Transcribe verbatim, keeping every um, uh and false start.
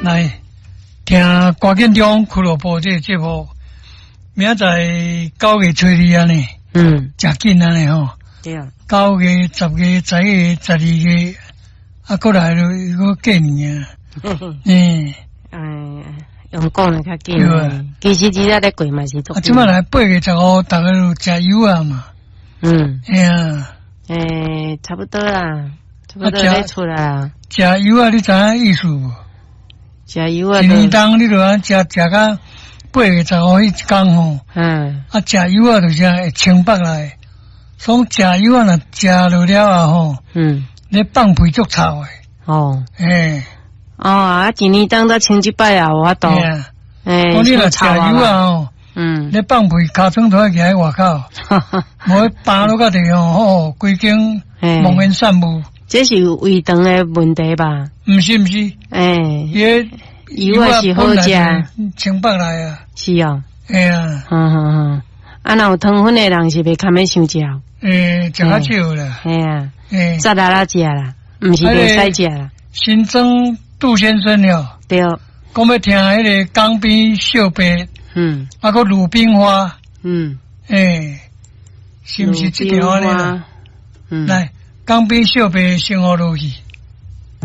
來聽歌建中俱樂部這個節目，明仔載九月初二按呢，嗯，誠緊按呢吼。對啊。九月、十月、十一月、十二月，啊，閣來就閣過年啊。嗯。哎，用講的較緊。其實這咧過嘛是足。啊，這擺來八月十五，逐家就食柚仔嘛。嗯。嘿啊。欸，差不多啦，差不多咧出來啊。食柚仔，你知影意思無？食柚仔。一年冬你就按食食到八月十五彼一工吼。嗯。啊，食柚仔就是會清腹來，所以食柚仔若食落了後吼，嗯，你放屁足臭的。哦。欸。哦，啊，一年冬才清一擺也無法度。欸，你若食柚仔吼，嗯，你放屁，尻川都愛徛佇外口，無放落甲地吼，吼，規間濃煙散霧。這是胃腸的問題吧？毋是毋是，欸，伊柚仔是好食，清腹來啊。是哦。欸啊。嗯嗯嗯，啊，若有糖分的人是袂堪欲傷食。欸，食較少啦。嘿啊。欸，雜啦啦食啦，毋是袂使食啦。新莊杜先生了。對。講欲聽彼个江邊小白，嗯，啊，閣魯冰花，嗯，欸，是毋是這條按呢？嗯，來，江邊小白先予落去。